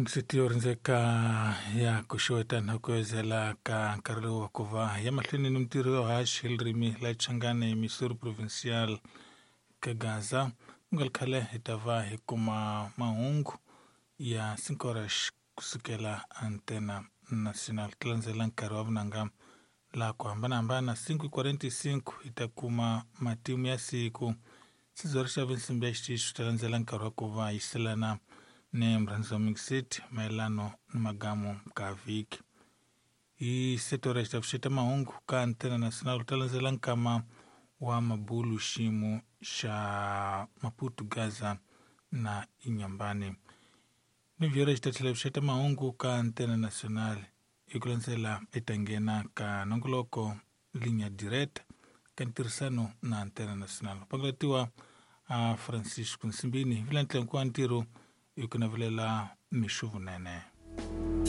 Mingiseti yo rindzeka ya ku xeweta na ku ezela ka nkarhi lowu wa ku va ya mahlweni ni mintirho yo haxa hi ririmi la Changane Missouri Provincial ka Gaza. Ku nga ri khale hi ta va hi kuma mahungu ya 5 horas kusukela Antena Nacional. Ti landzela nkarhi wa vunanga laha ku hambanahambana 5:45 hi ta kuma matimu ya siku. Sizori xa vinsimbi ya xitichi ta landzela nkarhi wa ku va yiselana ni murhandzi wa Mixit mayelano ni magamu ka vhiki. Hi setora xi ta pfuxeta mahungu ka Antena Nacional ta landzela nkama wa mabulu xiyimo xa Maputo Gaza na Inyambani. Ni vhiyora xi ta tlhela pfuxeta mahungu ka Antena Nacional hi ku landzela i ta nghena ka nongoloko linya direct ka ntirhisano na Antena Nacional. Pangulatiwa a Francisco Nsimbini hi vula ntlangu wa ntirho hi ku navelela mixo vunene.